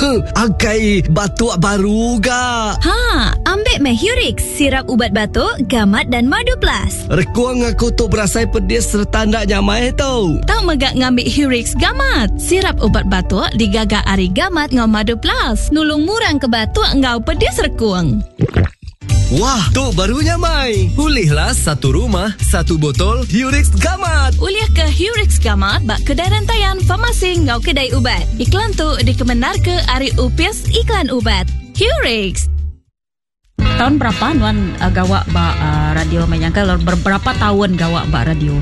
Akai batuk baru ga. Ha, ambik meh Hurix, sirap ubat batuk, gamat dan madu plus. Rekung aku tu berasai pedis sereta enda nyamai tu. Tau mega ngambi Hurix Gamat, sirap ubat batuk digaga ari gamat enggau madu plus, nulung murang ke batuk enggau pedis rekung. Wah, tu baru nyamai. Ulihlah satu rumah, satu botol Hurix Gamat. Ulih ke Hurix Gamat ba kedai rentayan, farmasi enggau kedai ubat. Iklan tu dikemendarka ari Opis Iklan Ubat. Hurix. Tahun berapa nuan uh, gawa ba uh, radio mai nyangka berapa tahun gawa ba radio?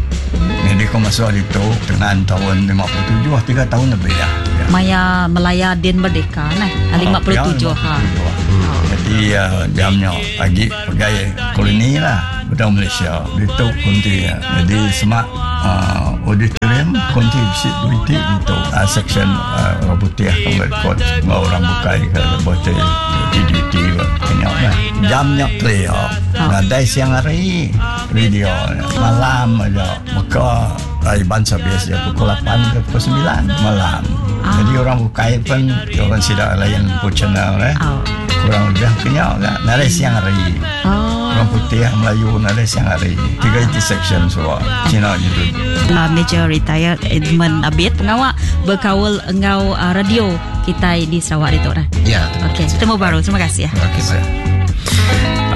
Jadi aku masuk hari tu dengan tahun 57, 3 tahun lebih ya. Maya Melaya Din Merdeka nah, 57 oh, ha. Jadi uh, jamnya pagi pegai koloni lah Bedau Malaysia ditu konti ya. Jadi semak uh, auditorium konti bisi duit ditu uh, section uh, orang putih akan record enggau orang bukai ke botol DDT kenyau lah. Jamnya clear. Nadai siang hari radio malam aja. Maka Iban service dia pukul 8 ke pukul 9 malam. Jadi orang bukai pun orang sida lain pun channel eh. Kurang lebih kenyau lah. Nadai siang hari. Orang putih Melayu nadai siang hari. Tiga iti section semua. Cina gitu. Major Retired Edmund Abid pengawa berkaul enggau uh, radio kita di Sarawak itu dah. Ya. Okey, ketemu baru. Terima kasih ya. Okey, bye.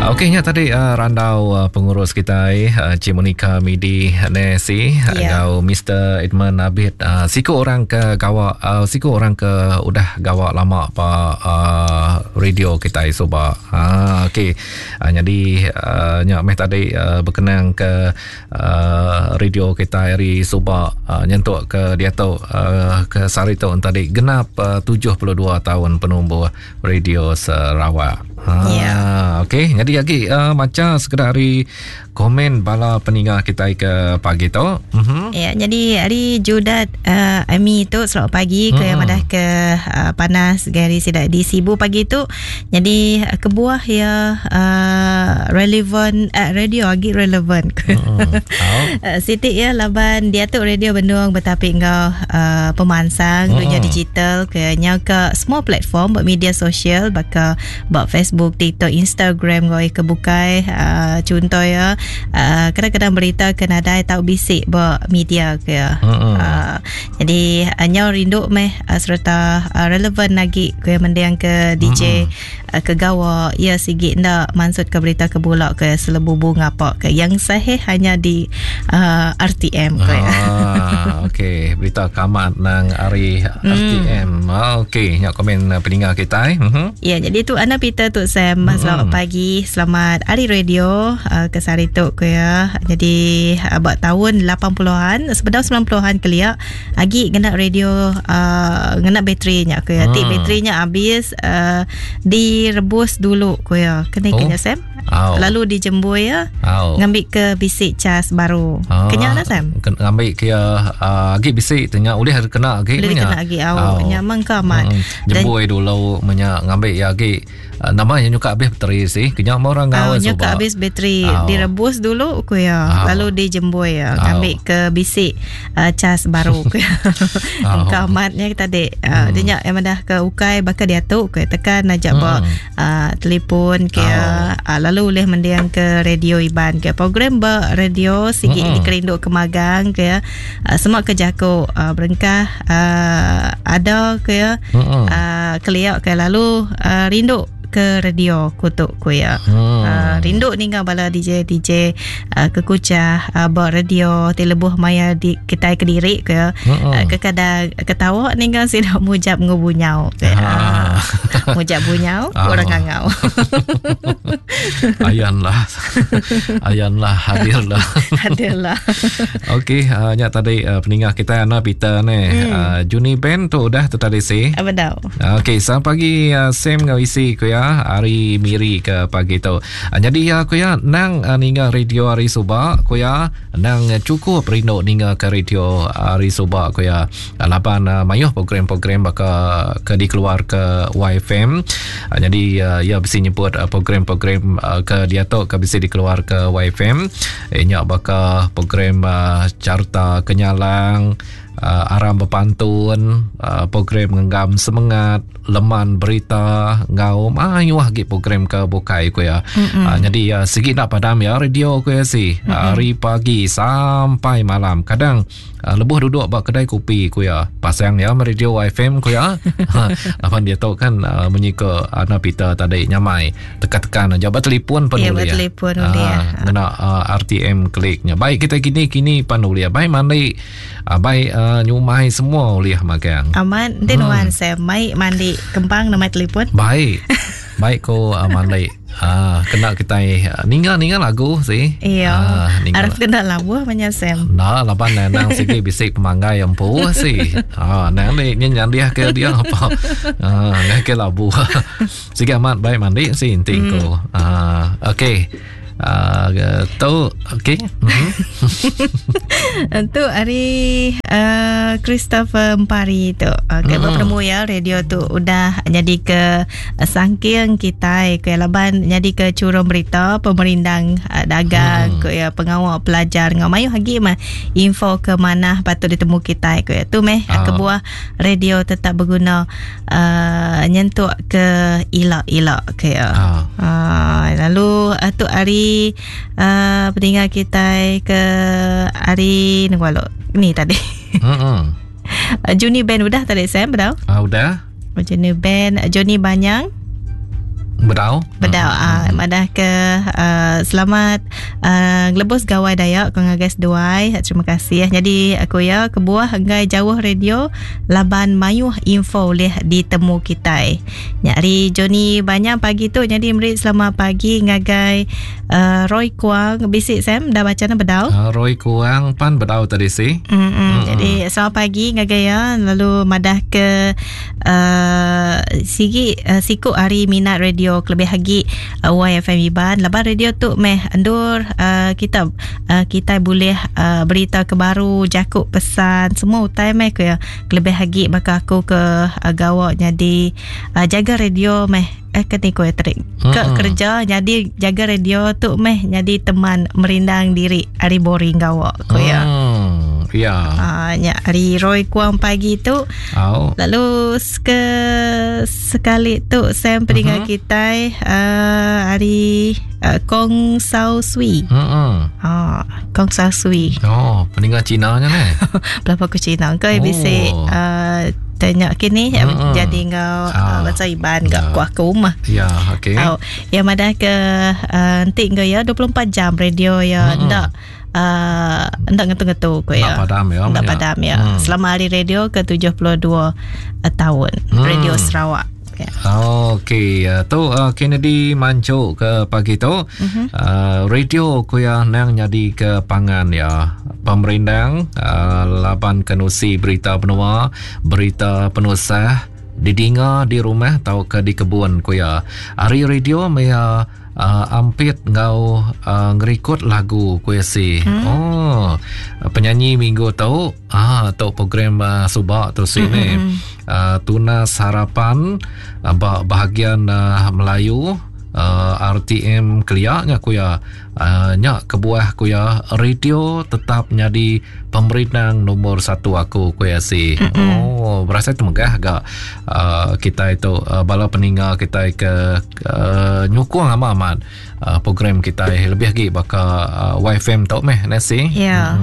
Okey nya tadi uh, randau uh, pengurus kita uh, Cik Monica Midi Nesi yeah. enggau Mr Edmund Abid uh, siku orang ke gawa uh, siku orang ke udah gawa lama pa uh, radio kita suba. Ha okey. Uh, jadi uh, nya meh tadi uh, berkenang ke uh, radio kita hari suba uh, nyentuk ke diatu uh, ke sehari tu tadi genap uh, 72 tahun penumbuh radio Sarawak. Ha yeah. okey jadi lagi uh, maca sekedar hari komen bala peninga kita ke pagi tu. Mm-hmm. Ya jadi hari Judat uh, Ami tu selamat pagi ke mm-hmm. madah ke uh, panas gari sidak di Sibu pagi tu. Jadi uh, kebuah ya uh, relevan uh, radio agi relevan. Mm. Uh, Siti ya laban dia tu radio bendung betapi enggau uh, pemansang mm. dunia digital ke nya ke semua platform buat media sosial baka buat Facebook, TikTok, Instagram ngoi ke bukai uh, contoh ya uh, kadang-kadang berita ke nadai tau bisik buat media ke ya. Mm. Uh, jadi uh, nyau rindu meh uh, serta uh, relevan lagi ke mendiang ke DJ mm. uh, ke gawa ya sigi nda mansut ke berita ke bulak ke selebubu ngapa ke yang sahih hanya di uh, RTM ke ya. Ah, okey berita kamat nang ari RTM. Mm. Ah, okey nyak komen peninga kita eh. Mm-hmm. Ya jadi tu Ana Peter tu Sam mm. selamat pagi selamat hari radio uh, ke sehari tu ke ya. Jadi uh, buat tahun 80-an sebedau 90-an kelia agi ngena radio uh, ngena baterinya ke ya. Ti baterinya habis uh, direbus dulu ke ya. Kena oh. kena Sam. Oh. Lalu dijembui ya. Oh. Ngambil ke bisik cas baru. Ah, Kena lah Sam. Ngambil ke uh, agi bisik tanya boleh kena agi Boleh kena agi au. Nyaman ke amat. Hmm. Jembui dulu menya ngambil ya agi uh, nama yang nyuka habis bateri sih. Kena orang ngau oh, nyuka habis bateri oh. direbus dulu ku ya. Oh. Lalu dijembui ya. Oh. Ngambil ke bisik uh, cas baru ku ya. Oh. Kamatnya tadi uh, hmm. dia nyak yang dah ke ukai bakal dia tu ku tekan ajak hmm. ba uh, telefon ke oh. uh, lalu boleh mendiang ke radio Iban ke program ba radio sigi hmm. dikerinduk ke magang ke uh, semua ke jako uh, berengkah uh, ada ke ya hmm. uh, keliak ke lalu uh, rindu ke radio kutuk ku ya. Hmm. Uh, rindu ninga bala DJ DJ uh, ke kucah uh, ba radio ti lebuh maya di kitai kediri ke hmm. uh, kekadang ketawa ninga sida mujap ngubunyau ke. Ah. Uh, mujap bunyau oh. orang ngangau. Ayanlah. Ayanlah hadirlah. Hadirlah. Okey, uh, nya tadi uh, peninga kita Ana Peter ni. Hmm. Uh, Juni Ben tu udah tu tadi si. Betul. Okey, selamat pagi uh, Sam ngau isi ku ya hari Miri ke pagi tu. Uh, jadi ya ku ya nang uh, ninga radio hari suba ku ya nang cukup rindu ninga ke radio hari suba ku ya. Uh, laban uh, mayuh program-program baka ke dikeluar ke YFM. Uh, jadi uh, ya bisi nyebut uh, program-program uh, ke diatu ke bisi dikeluar ke YFM. Eh, nyak baka program uh, Carta Kenyalang. Uh, aram bepantun, uh, program ngenggam semengat, leman berita, ngau mayuh lagi program ke bukai ku ya. Mm-hmm. Uh, jadi uh, segi nak padam ya radio ku ya si. Mm-hmm. Hari pagi sampai malam. Kadang uh, lebuh duduk ba kedai kopi ku ya. Pasang ya radio FM ku ya. Lapan dia tu kan uh, munyi ke Ana Peter tadi nyamai tekan-tekan aja ba telefon pun ya, boleh. Ya, telefon boleh. Uh, ngena uh, RTM kliknya. Baik kita kini-kini pan boleh. Baik mandi Abai uh, nyumai semua ulih magang. Amat, nanti hmm. nuan saya mai mandi kembang nama telefon. Baik. Baik ko uh, mandi. Ah, kena kita ninga-ninga lagu sih. Iya. Ah, Araf kena labu banyak Sam. Nah, laban nang sigi bisik pemanggai yang empu sih. Ah, nang ni nyandiah ke dia apa. Ah, ngai ke labu. Sigi amat baik mandi sih inti hmm. ko. Ah, okey. Uh, tu okey. Mm-hmm. Tu hari uh, Christopher Empari tu. Okey, mm. bertemu ya radio tu udah jadi ke uh, sangking kita ke laban jadi ke curung berita pemerindang uh, dagang mm. ke ya pengawal pelajar ngau mayu lagi mah info ke mana patut ditemu kita ke ya. Tu meh uh. kebuah radio tetap berguna uh, nyentuk ke ilak-ilak ke ya. Uh. Uh, lalu uh, tu hari uh, peninggal kita ke hari nunggu ni tadi. Hmm. Uh, Juni Band udah tadi Sam bedau? Ah uh, udah. Juni Band Johnny Banyang. Bedau. Bedau ah uh, madah ke uh, selamat uh, ngelebus gawai Dayak kau ngagai seduai. Terima kasih. Jadi aku ya kebuah enggai jauh radio laban mayuh info boleh ditemu kita. Nyari Johnny Banyang pagi tu jadi merik selamat pagi ngagai uh, Roy Kuang bisik Sam dah baca na bedau. Uh, Roy Kuang pan bedau tadi si. Mm-mm. Jadi selamat pagi ngagai ya lalu madah ke uh, sigi uh, siku hari minat radio kelebih lagi uh, YFM Iban laban radio tu meh endur uh, kita uh, kita boleh uh, berita ke baru jakuk pesan semua utai meh ke kelebih lagi bakal aku ke uh, gawak jadi uh, jaga radio meh eh kena ko terik ke kerja jadi jaga radio tu meh jadi teman merindang diri hari boring gawak ko ya. Ya. Ah nya hari Roy Kuang pagi tu. Oh. Lalu ke sekali tu Sam pendengar kita uh, hari uh, Kong Sao Sui. Ah, Kong Sao Sui. Oh, pendengar Cina nya ne. Berapa ku Cina ke oh. Bisik uh, tanya kini jadi ngau uh, bahasa Iban gak ku aku mah. Ya, okey. Oh, yang madah ke nanti uh, ngau ya 24 jam radio ya ndak uh, ndak ngetu-ngetu ko ya. Ndak padam ya. Ndak padam ya. Selama hari radio ke 72 tahun Radio Sarawak. Ya. Okey, tu uh, Kennedy mancuk ke pagi tu. Uh, radio ku ya nang jadi ke pangan ya. Pemerindang uh, laban kenusi berita benua, berita penusah didinga di rumah atau ke di kebun ku ya. Hari radio maya uh, ampit ngau uh, ngerikut lagu ku ya si. Oh, penyanyi minggu tu ah tu program uh, subak tu sini. Uh, Tunas Harapan uh, bahagian uh, Melayu uh, RTM keliaknya ku ya uh, nyak kebuah ku ya radio tetap jadi pemerintah nombor 1 aku ku ya si. Oh, berasa tu megah agak uh, kita itu uh, bala peninggal kita ke uh, nyukung amat-amat uh, program kita lebih lagi baka uh, YFM tu meh nasi. Ya.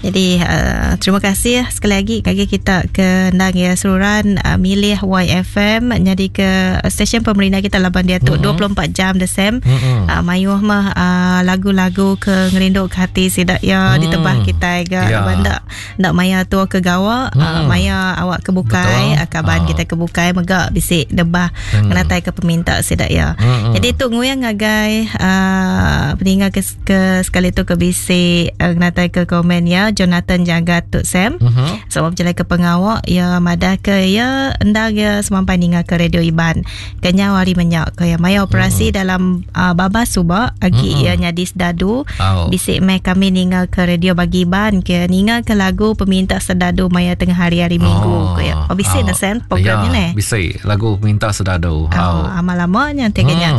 Jadi uh, terima kasih sekali lagi bagi kita ke ndang ya seluruhan uh, milih YFM jadi ke stesen pemerintah kita laban dia tu 24 jam the same. Uh, mayuh mah uh, lagu-lagu ke ngerinduk ke hati sidak ya ditebah kita ke Ya. laban dak ndak maya tu ke gawa uh, maya awak ke bukai uh, kaban kita ke bukai megak bisik debah ngenatai ke peminta sidak ya. Jadi tu nguyang ngagai uh, peninggal ke, ke sekali tu ke bisik uh, ngenatai ke komen ya Jonathan Jaga tu Sam. Sebab berjalan ke pengawak ya madah ke ya endang ya semampai ningal ke radio Iban. Kenyau hari menyak ke ya maya operasi dalam uh, babas subak agi ya nyadi sedadu. Oh. Bisik meh kami ningal ke radio bagi Iban ke ningal ke lagu peminta sedadu maya tengah hari-hari minggu ke ya. Oh bisik oh. Sam programnya ya, ne. Bisik lagu peminta sedadu. Oh, amal lamanya teganya.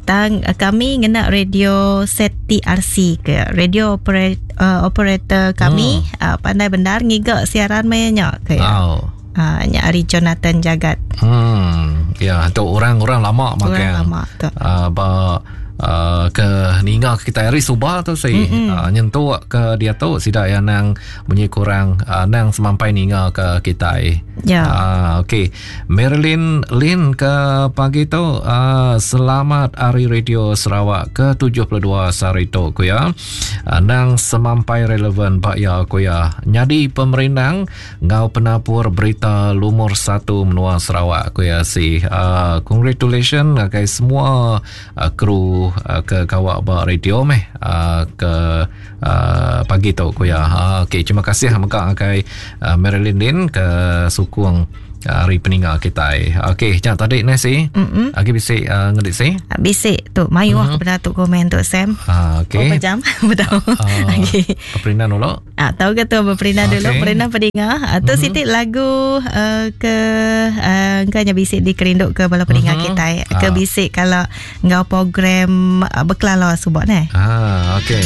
Tang kami ngena radio set TRC ke radio operator kami pandai bendar ngiga siaran maya nya ke ya. Oh. Nya ari Jonathan Jagat. Ya, tu orang-orang lama Orang makan. lama tu. Ba ke ninga kita hari suba tu si nyentuk ke dia tu sida yang nang bunyi kurang nang semampai ninga ke kita. Ya. Okey. Marilyn Lin ke pagi tu selamat hari Radio Sarawak ke 72 sehari tu ku ya. Nang semampai relevan ba ya ku ya. Nyadi pemerindang ngau penapur berita lumur 1 menua Sarawak ku ya si. Congratulations ngagai semua kru ke kawak ba radio meh ke pagi tu ku ya. Okey, terima kasih mega ngagai Marilyn Lin ke sukung hari peninga kita. Okey, jangan tadi ni si. Agi bisi ngedik si. Bisi tu mayuh mm-hmm. kepada tu komen tu Sam. Okey. Berapa jam? Betul. Okey. Perintah dulu. Tahu ke tu berperintah Okey. dulu, perintah peninga. Tu mm-hmm. siti lagu ke engkau bisik dikerinduk ke bala peninga mm-hmm. kita. Ke bisik kalau ngau program bekelala subak ne. Okey.